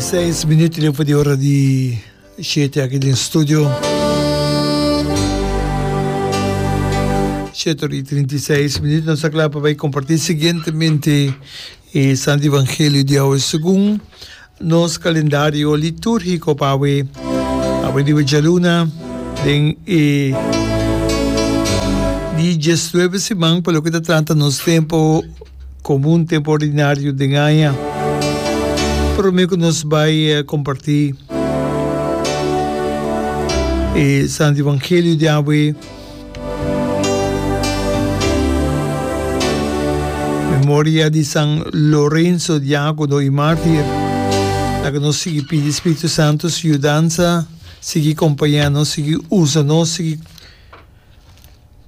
Seis minuut riba di ora di shete aki den studio. Shete ora i 36 minuut nos ta kla pa bai kompartí siguientemente e Santo Evangelio di awe segun nos kalendario litúrgiko pa awe. Awe riba djaluna den e di diesnuebe siman pa loke ta trata nos tempo Komo un tempu ordinario den aña, promé ku nos bai kompartí e Santu Evangelio di awe, memoria di San Lorenzo, diákono i mártir, laga nos sigui pidi Spiritu Santu su yudansa, sigui kompañá nos, sigui usa nos, sigui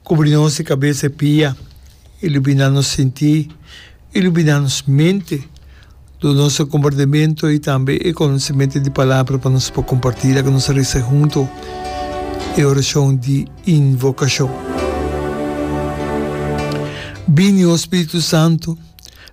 Kubri nos di kabesa i pia, iluminá nos sintí, iluminá nos mente, duna nos e komprendementu i tambe e konosementu di Palabra pa nos por kompartí. Laga nos resa huntu e orashon di invokashon. Bini, o Spiritu Santu,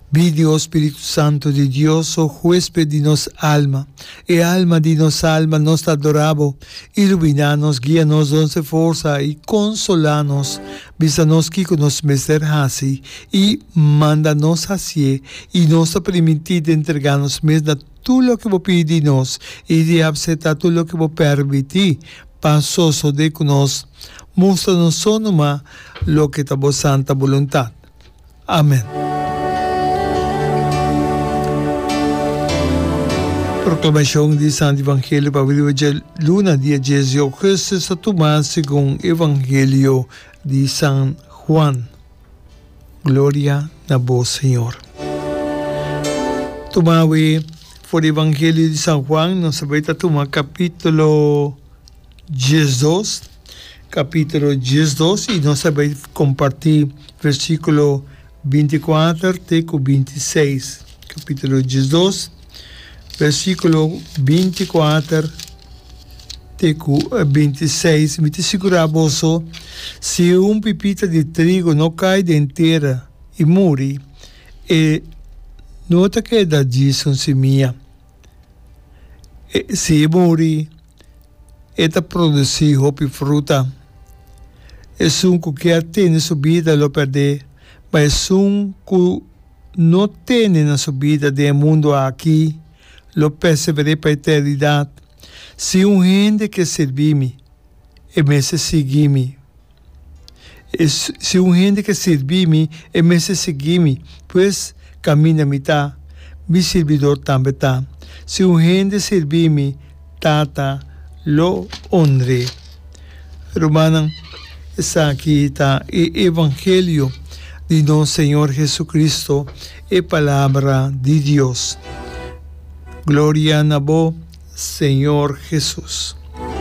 bini, o Spiritu Santu di Dios, o huesped di nos alma, e alma di nos alma, nos ta adorá bo. Iluminá nos, guia nos, duna nos e forsa i konsolá nos. Bisa nos kiko nos mester hasi i manda nos hasié, i nos ta primintí di entregá nos mes na tur loke bo pidi di nos i di apseptá tur loke bo permití pa sosodé ku nos. Mustra nos so numa loke ta bo santa boluntat. Amen. Proclamacion di Santo Evangelio pa riba dje luna dia djes di augustus ta tuma segun Evangelio di San Juan. Gloria na bo Señor. Tuma awe for di Evangelio di San Juan nos ta bay ta tuma capitulo 12, capítulo 12, y nos ta bay comparti versículo 24 te cu 26. Capítulo 12, versículo 24 te cu 26. Mi ta sigura boso, si un pipita di trigo no cay den tera y muri, e no ta keda djis un simia. Si e muri, e ta produsí hopi fruta. Esun ku kier tene su bida lo pèrd'é, ma esun ku no tene na su bida den e mundu aki lo persever'é pa eternidat. Si un hende ke sirbi mi, e mester sigui mi. Si un hende ke sirbi mi, e mester sigui mi, pues kaminda mi ta, mi sirbidor tambe ta. Si un hende sirbi mi, Tata lo honr'é. Rumannan, esaki ta e evangelio di nos Señor Jesucristo, e Palabra di Dios. Gloria na bo, Señor Jesus.